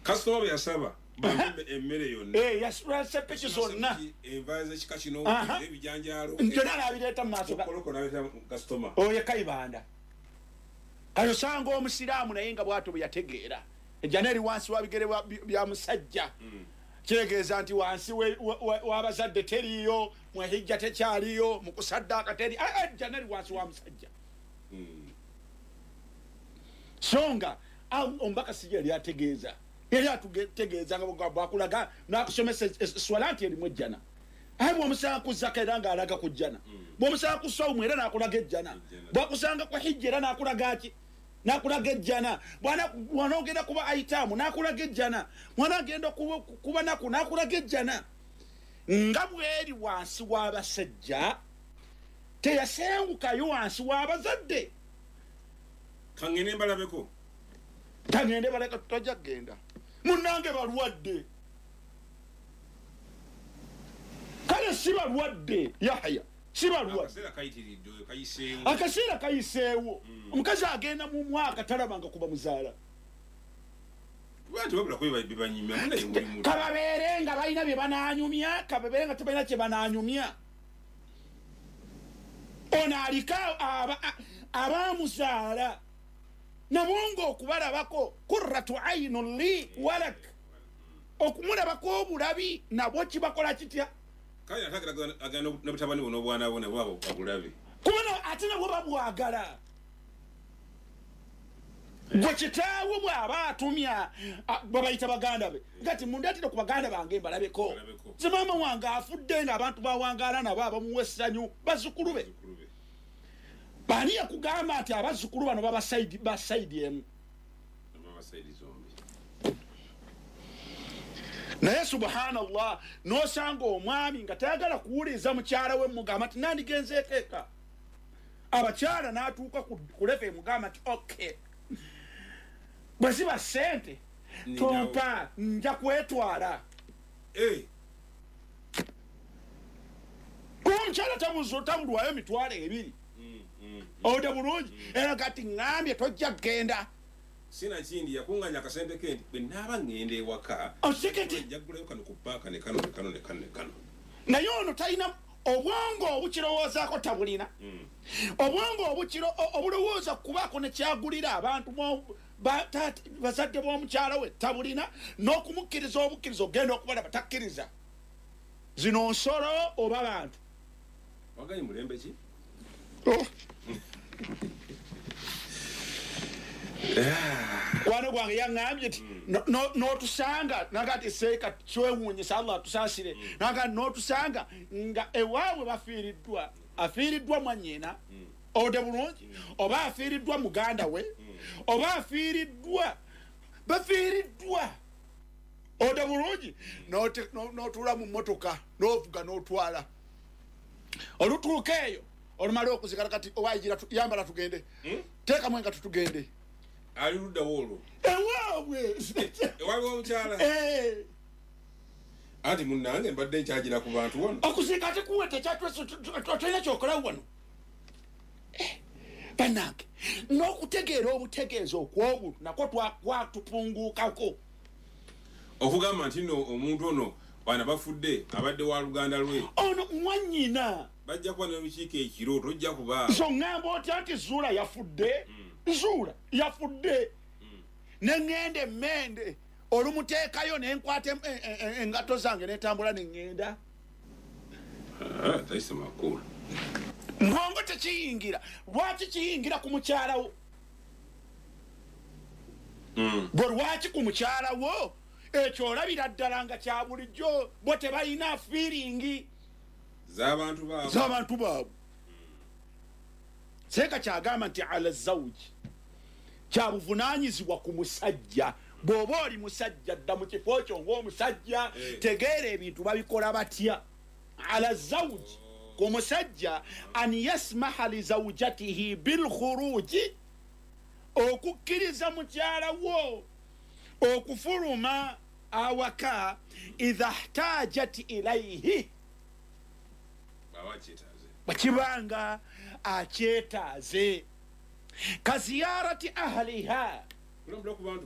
Kasitoma bwe yasaba bampe emmere yonna. Yasula sepiki zonna. Enva z'ekika kino, ebijanjaalo. Byonna n'abireeta mu maaso. Koloko n'abireeta kasitoma. Oyo Kayibanda. Kati osanga omusiraamu naye nga bwatyo bwe yategeera ejjana eri wansi wa bigere bya musajja. Kitegeeza nti wansi w'abazadde teriiyo, mu hijja tekyaliyo, mu kusaddaaka teri, ejjana eri wansi wa musajja. So nga omubaka si yali ategeeza, yali atutegeeza nga bwakulaga n'akusomesa eswala nti erimu ejjana. Aye bw'omusanga ku zaka era ng'alaga ku jjana, bw'omusanga ku sawumu era n'akulaga ejjana, bw'akusanga ku hijja era n'akulaga ki? N'akulaga ejjana. Bw'anaogenda kuba aitaamu n'akulaga ejjana, bw'anaagenda kuba naku n'akulaga ejjana. Nga bw'eri wansi w'abasajja teyasengukayo wansi w'abazadde. Kangende mbalabeko. Kangende baleka, tojja kugenda. Munnange balwadde. Kale si balwadde, Yahya, si balwadde. Akaseera kayiseewo. Akaseera kayiseewo. Omukazi agenda mu mwaka talabanga kuba muzaala. Kababeere nga balina bye banaanyumya, kababeere nga tebalina kye banaanyumya. Ono aliko abamuzaala nabo ng'okubalabako kurratu aynun li walak, okumulabako obulabi nabwo kibakola kitya? Kale ate agenda ne butabani bwe n'obwana bwe nabwo abulabe. Kubona ate nabwo babwagala. Gwe kitaawo bw'aba atumya babayita baganda be, gati mundeetire ku baganda bange mbalabeko. Nze maama wange afudde ng'abantu bawangaala nabo abamuwa essanyu bazzukulu be. Baani yakugamba nti abazzukulu bano baba sayidi emu? Naye subhanallah, n'osanga omwami nga tayagala kuwuliriza mukyala we mugamba nti nandigenzeeko eka. Abakyala n'atuuka ku level emugamba nti okay, bwe ziba ssente tompa, nja kwetwala. Kuba omukyala tabulwayo 20,000. Owulira bulungi? Era kati ŋŋambye tojja kugenda. Sina kindi yakunganya akasente ke nti bwe naaba ŋŋenda ewaka njagulayo kano ku ppaaka ne kano ne kano ne kano ne kano. Naye ono talina obwongo obukirowoozaako, tabulina. Obwongo obulowooza kubaako ne kyagulira abantu bazadde b'omukyala we tabulina, n'okumukkiriza obukkiriza ogenda okubalaba takkiriza. Zino nsolo oba bantu? Waganye mulembe ki? Kwano gwange yaŋŋambye nti n'otusanga naga nti seeka kyewuunyisa Allah atusaasire, naga n'otusanga nga ewaabwe bafiiriddwa, afiiriddwa mwannyina, ode bulungi, oba afiiriddwa muganda we, oba afiiriddwa bafiiriddwa, ode bulungi, n'otuula mu mmotoka n'ovuga n'otwala olutuuka eyo olumala okuzikala kati owayigira yambala tugende, teekamu engatto tugende. Ali luddawo olwo? Ewaabwe. Ewaabwe omukyala? Anti munnange mbadde nkyagira ku bantu wano. Okuziika tekuwe tolina kyokola wano. Bannange, n'okutegeera obutegeezi okw'obuntu nakwo kwatupunguukako. Okugamba nti nno omuntu ono bana bafudde abadde wa luganda lwe. Ono mwannyina. Bajja kuba n'olukiiko ekiro tojja kuba. So ŋŋamba otya nti Zuula yafudde? Zuula yafudde. Ne ŋŋenda emmende olumuteekayo ne nkwata engatto zange ne ntambula ne ŋŋenda. Tayise makulu. Mbwongo tekiyingira. Lwaki kiyingira ku mukyala wo? Bwe lwaki ku mukyala wo? Ekyo olabira ddala nga kya bulijjo, bo tebalina feeling z'abantu baabwe. Z'abantu baabwe. Seeka kyagamba nti ala zawji kya buvunaanyizibwa ku musajja. Bw'oba oli musajja dda mu kifo kyo ng'omusajja, tegeera ebintu babikola batya. Ala zawji ku musajja an yasmaha li zawjatihi bilkhuruji, okukkiriza mukyala wo okufuluma awaka idha ihtajat ilaihi, bwekibanga akyetaaze, kaziyarati ahliha,